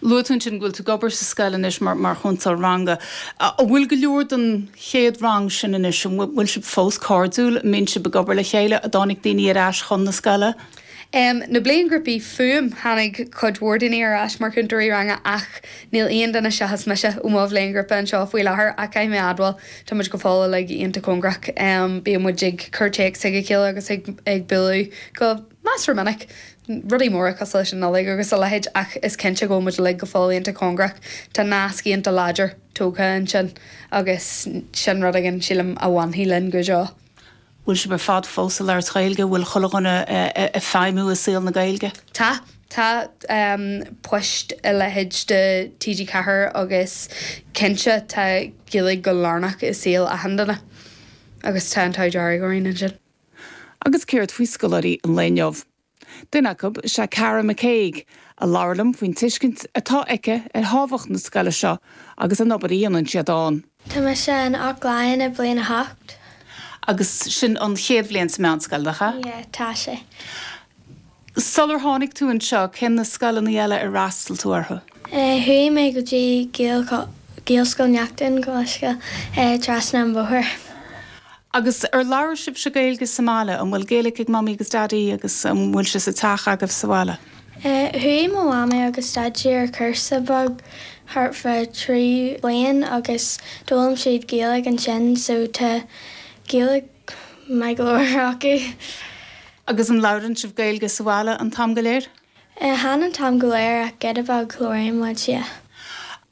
Luaigh tú ansin go bhfuil tú ag obair sa scoil anois mar mar chúntóir ranga. An bhfuil go leor den chéad rang sin anois, an bhfuil sibh fós cairdiúil, an mbíonn sibh ag obair le chéile, an dtáinig daoine ar ais chun na scoile? Na bliainghrúpaí fúm, tháinig cuid mhór daoine ar ais mar chúntóirí ranga ach níl aon duine seachas mise ó mo bhliainghrúpa anseo faoi láthair ach caithfidh mé a admháil, tá muid go fóill uilig iontach cóngarach. Bíonn muid ag cur téacs chuig a chéile agus ag ag bualadh go measartha minic, rudaí móra cosúil leis an Nollaig agus a leithéid ach is cinnte go bhfuil muid uilig go fóill iontach cóngarach. Tá nasc iontach láidir tógtha ansin agus sin rud éigin, sílim, a bhainfidh linn go deo. Bhfuil sibh ar fad fós ag labhairt Gaeilge? Bhfuil chuile dhuine ag feidhmiú i saol na Gaeilge? Tá. Tá poist a leithéid de TG4 agus cinnte tá Gaeilge go lárnach i saol achan duine agus tá an t-ádh dearg orainn ansin. Agus céard faoi scoláirí an lae inniu? Duine acu is ea Cara McCague, a labhair liom faoin tuiscint atá aici ar thábhacht na scoile seo agus an obair a dhéanann siad ann. Tá mise in Eochaill Laighean i bliain 8. Agus sin an chéad bhliain sa meánscoil, nach ea? Yeah, tá sé. Sular tháinig tú anseo, cén na scoileanna eile ar fhreastail tú orthu? Chuaigh mé go dtí Gaelscoil Neachtain, gabh mo leithscéal, trasna an bhóthair. Agus ar labhair sibhse Gaeilge sa mbaile? An bhfuil Gaeilge ag Mamaí agus Daidí agus an bhfuil sé sa teach agaibh sa bhaile? Chuaigh mo mhamaí agus daidí ar cúrsa beag thart fá 3 bliain agus d'fhoghlaim siad Gaeilge ansin so tá Gaeilge maith go leor acu. Agus an labhrann sibh Gaeilge sa bhaile an t-am go léir? Chan an t-am go léir ach giota beag labhraíonn muid, yeah.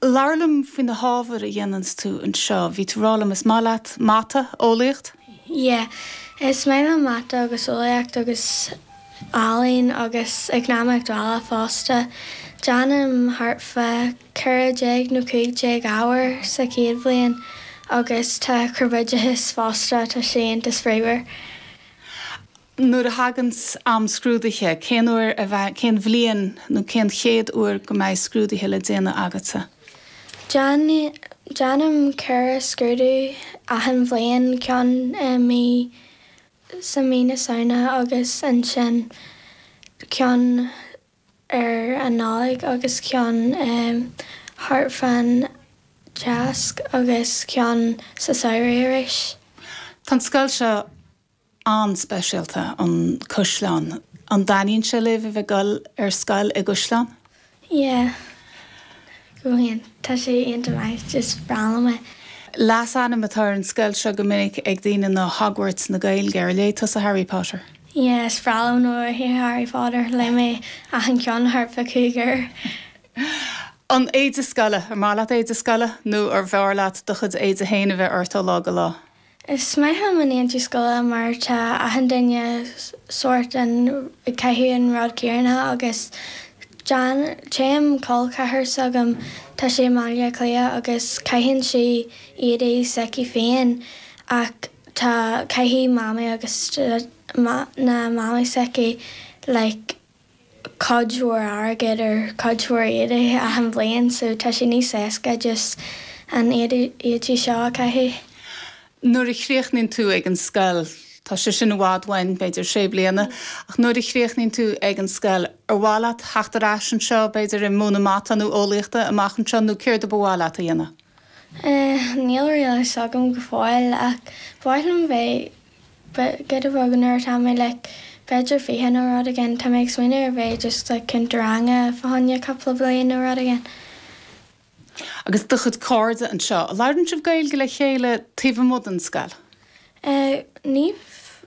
Labhair liom faoi na hábhair a dhéananns tú anseo. Bhí tú ag rá liom is maith leat mata, eolaíocht? Yeah. Is maith liom mata agus eolaíocht agus ealaín agus eacnamaíocht bhaile fosta. Déanaim thart fá 14 nó 15 ábhar sa chéad bhliain agus tá corpoideachas fosta, tá sé iontach spraíúil. Nuair a thaganns am scrúdaithe, cén uair a bheidh, cén bhliain nó cén chéad uair go mbeidh scrúduithe le déanamh agatsa? Déanaim 4 scrúdú achan bhliain, ceann i mí, sa mí na Samhna agus ansin ceann ar an Nollaig agus ceann thart fán Cháisc agus ceann sa samhradh arís. Tá an scoil seo an-speisialta, an Caisleán. An dtaitníonn sé libh a bheith ag dul ar scoil i gCaisleán? Yeah. Go hiontach. Tá sé iontach maith. Is breá liom é. Leasainm atá ar an scoil seo go minic ag daoine ná Hogwarts na Gaeilge. Ar léigh tusa Harry Potter? Yeah, is breá liom na Harry Potter. Léigh mé achan ceann thart fá chúig uair. An éide scoile, ar maith leat éide scoile nó arbh fhearr leat do chuid éide féin a bheith ort ó lá go lá? Is maith liom an éide scoile mar tá achan duine sórt an ag caitheamh an rud céanna agus téann col ceathar s'agam tá sé i mBaile Átha Cliath agus caitheann sí éadaí s'aici féin ach tá caithfidh mamaí agus na mamaí s'aici like cuid mhór airgead ar cuid mhór éadaí achan bhliain so tá sé níos éasca just an éadaí seo a chaitheamh. Nuair a chríochnaíonn tú ag an scoil, tá sé sin i bhfad uainn, b'fhéidir sé bliana, ach nuair a chríochnaíonn tú ag an scoil, ar mhaith leat theacht ar ais anseo, b'fhéidir ag múineadh mata nó eolaíochta amach anseo nó céard a ba mhaith leat a dhéanamh? Níl really a fhios agam go fóill ach ba mhaith liom bheith Giota beag nuair atá mé like b'fhéidir 20 nó rud éigin, tá mé ag smaoineamh ar bheith just like cúntóir ranga fá choinne cúpla bliain nó rud éigin. Agus do chuid cairde anseo, an labhrann sibh Gaeilge le chéile taobh amuigh den scoil? Eh ní,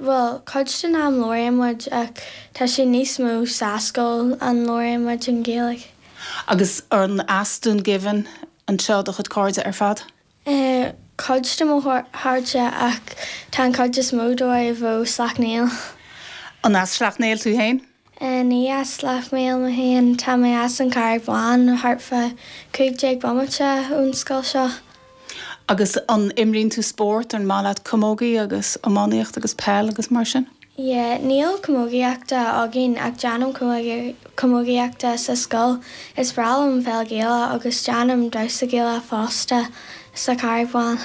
bhuel cuid den am labhraíonn muid ach tá sé níos mó sa scoil an labhraíonn muid an Ghaeilge. Agus an as Dún Geimhin anseo do chuid cairde ar fad? Cuid de mo chairde ach tá an chuid is mó dóibh ó Sleacht Néill. An as Sleacht Néill tú féin? Ní as Sleacht Néill mé féin, tá mé as an Charraig Bhán, thart fá 15 bomaite ón scoil seo. Agus an imríonn tú spórt, an maith leat camógaí agus iománaíocht agus peil agus mar sin? Yeah, níl camógaíochta againn ach déanaim camógaíochta sa scoil. Is breá liom peil Gaelach agus déanaim damhsa Gaelach fosta sa Charraig Bhán.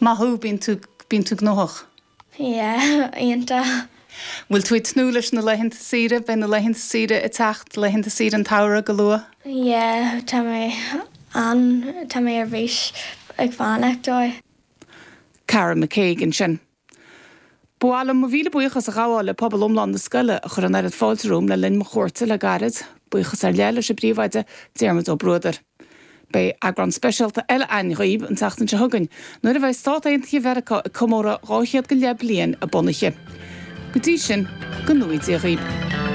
Maith thú, bíonn tú, bíonn tú gnóthach. Yeah, iontach. Bhfuil tú ag tnúth leis na laethanta saoire? Beidh na laethanta saoire ag teacht, laethanta saoire an tsamhraidh go luath. Yeah, tá mé an, tá mé ar bís ag fanacht dó. Cara McCague ansin. Ba mhaith liom mo mhíle buíochas a ghabháil le pobal iomlán na scoile a chuir an oiread fáilte romham le linn mo chuairte le gairid. Buíochas ar leith leis an bpríomhoide, Diarmuid Ó Bruadair. Beidh eagrán speisialta eile againn dhaoibh an tseachtain seo chugainn, nuair a bheidh Stát Aontaithe Mheiriceá ag comóradh 200 go leith bliain a bunaithe. Go dtí sin, go ngnóthaí Dia dhaoibh.